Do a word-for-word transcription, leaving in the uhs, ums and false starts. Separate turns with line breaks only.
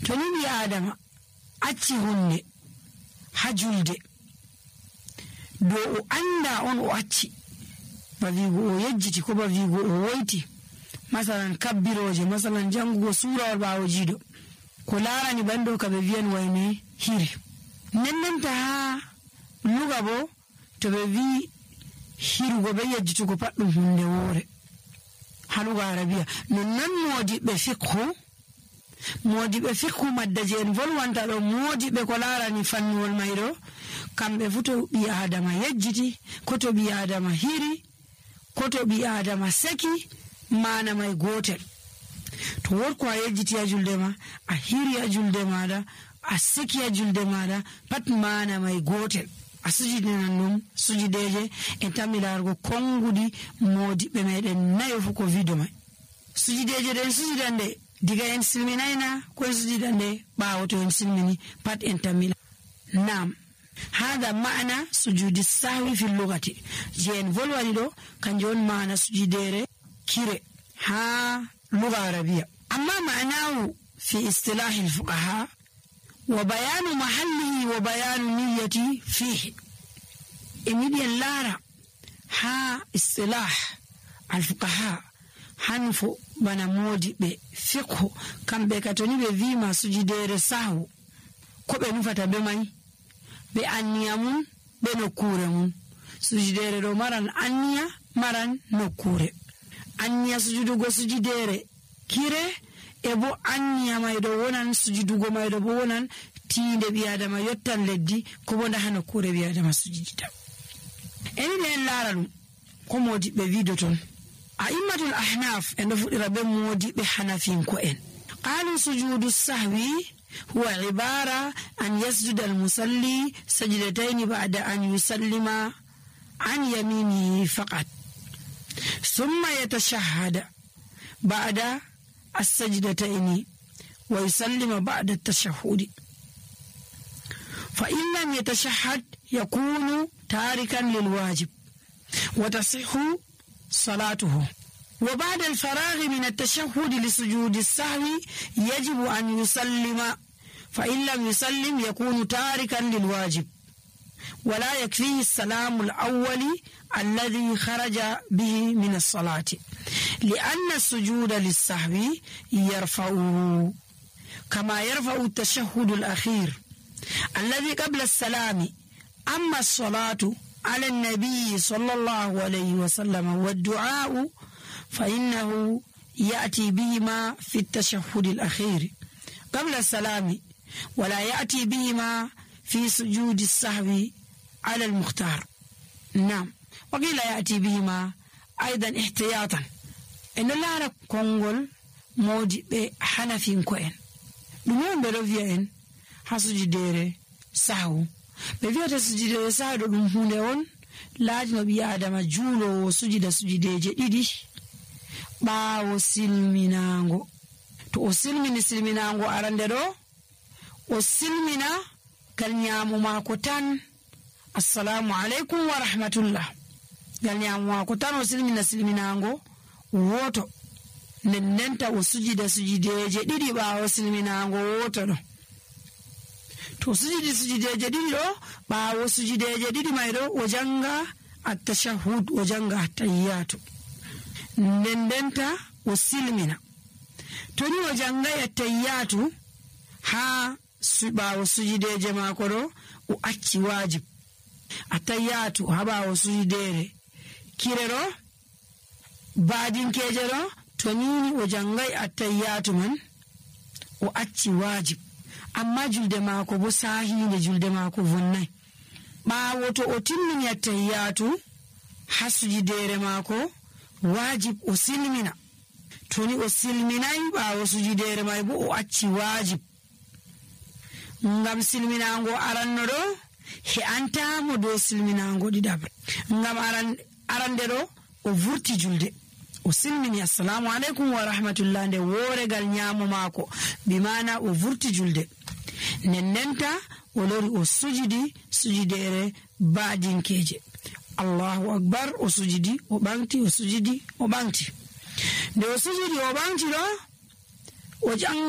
to ni ɓi adama acci hunde ha julde do o anda on o acci ba wigo o yejjiti ko ba wigo o woyti masalan kabbiroje masalan jangugo surawol ɓawo jiiɗo ko larani bando kaɓe wiyan wayne hiri nennenta ha luga bo to ɓe wi hirugo be yejjitugo pat ɗum hunde woore ha luga arabiya nonnon modiɓɓe fiqhu modiɓe fiqhu madda je en volwanta ɗo modiɓe ko larani fannuwol mayɗo kamɓe fu to ɓi adama yejjiti ko to ɓi adama hiri ko to ɓi adama seki mana may gotel to wotko a yejjiti a julde ma a hiri a julde maɗa a seki a julde maɗa pat mana may gotel a sujidinan ɗum sujideje en tammi larugo konguɗi modiɓɓe meɗen nayo fu ko wido may sujideje ɗen sujidande diga en silminayna ko en sujidande ɓawo to en silmini pat en tammila nam hada ma'ana sujudi sahwi fil lugati je en volwani ɗo kanjum on ma'ana sujidere kire ha luga arabiya amma ma'anahu fi istilahi alfuqaha wa bayanu mahallihi wa bayanu niyyati fihi emidi en lara ha istilah alfuqaha hanfo bana modiɓe fiqhu kamɓe ka toni ɓe wima sujidere sahwu ko ɓe nufata be may be anniya mum be nokkure mum sujidere ɗo maran anniya maran nokkure anniya sujudugo sujidere kire e bo anniya mayɗo wonan sujudugo mayɗo bo wonan tiinde ɓi adama yottan leddi ko bo ndaha nokkure ɓi adama sujidita eniɗe en laara ɗum ko modiɓɓe wido ton a'immatul ahnaf en ɗo fuɗɗira be modiɓe hanafinko en qalu sujudu sahwi huwa ibara an yasjuda almusalli sajdatayn ba'da an yusallima an yaminihi faqat thumma yatashahhada ba'da as-sajdatayn wa yusallima ba'da at-tashahhud fa in lam yatashahhad yakunu tarikan lilwajib wa tasihhu صلاته وبعد الفراغ من التشهد لسجود السهو يجب أن يسلم فإن لم يسلم يكون تاركا للواجب ولا يكفيه السلام الأول الذي خرج به من الصلاة لأن السجود للسهو يرفعه كما يرفع التشهد الأخير الذي قبل السلام. أما الصلاة على النبي صلى الله عليه وسلم والدعاء فإنه يأتي بهما في التشهد الأخير قبل السلام ولا يأتي بهما في سجود السهو على المختار. نعم وقيل يأتي بهما أيضا احتياطا إن الله كونغول موجي بحنفين كوين دمون بلوفيا حسجدير سهو ɓe wiyata sujidere sahdo ɗum hunde on laaji no ɓi adama juulowo sujida sujideje ɗiɗi ɓaawo silminaango. To o silmini silminaango arande ɗo o silmina gal ñaamu maako tan assalamu aleykum wa rahmatullah gal ñaamu maako tan o silmina silminaango woto nden ndenta o sujida sujideje ɗiɗi ɓaawo silminaango woto ɗo. To sujidi sujideje ɗiɗi ɗo ɓaawo sujideje ɗiɗi may ɗo o janga attashahhud o janga attahiyatu nden ndenta o silmina. To ni o jangay attahiyatu ha ɓaawo sujideje maako ɗo o acci wajib. Attahiyatu ha ɓaawo sujidere kire ɗo baadinkeje ɗo to nini o jangay attahiyatu man o acci wajib. Amma julde maako bo sahinde julde maako vonnay. ɓaawo to o timmini attahiyatu ha sujidere maako wajib o silmina. To ni o silminay ɓaawo sujidere may bo o acci wajib ngam silminango aranno ɗo he antamo dow silminango ɗiɗabre. Ngam aran arande ɗo o vurti julde o silmini assalamu aleykum wa rahmatullah nde woregal ñaamo maako bimana o vurti julde nden ndenta o lori o sujidi sujidere baadinkeje. Allahu akbar o sujidi o ɓanti o sujidi o ɓanti nde o sujidi o ɓanti ɗo o jang